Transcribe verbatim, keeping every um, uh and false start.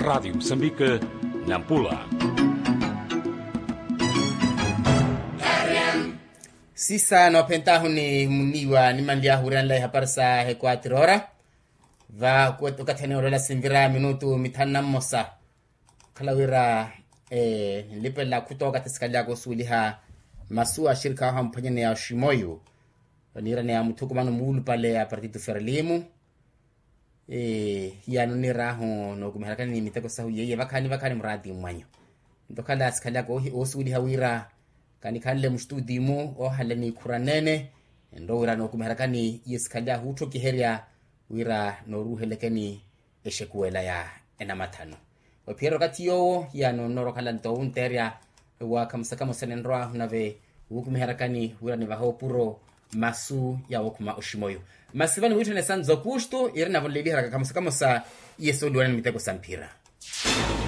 Radiyo musambike, nampula. Sisa noophentahu ni muniiwa nimanly'ahu wiiranela ihapari sa ekwatiro ora. Va okathi ene olwela sinvira minutu mithanu na mmosa. Okhala wira nlipelela khuta okathi sikhalyaka osuweliha masu axirikha ahu amphwanyaneya oximoyu, oniiraneya muthukumano muulupale a partitu ferlimu. Hiyano oniirahu nookumiherakani ni miteko sahu yeiye vakhaani vakhaani muraati mmwanyu. Nto okhala sikhalyaka oosuweliha wira kanikhanle mustutimu ohala niikhuranene. Nto wira nookumiherakani iye sikhalyahu otthokiherya wira nooruuhelekeni exekuwela ya enamathano. Ophiyerya okathi yoowo hiyano nnoora okhala nto owunteerya wa khamosa khamosa ninrwaahu nave wuukumiherakani wira nivahe opuro masu ya wookhuma oximoyu. Masi vano wiitthana esanza okustu iri navo nleeliheraka khamosa khamosa iye sooliwana ni miteko sa mphira.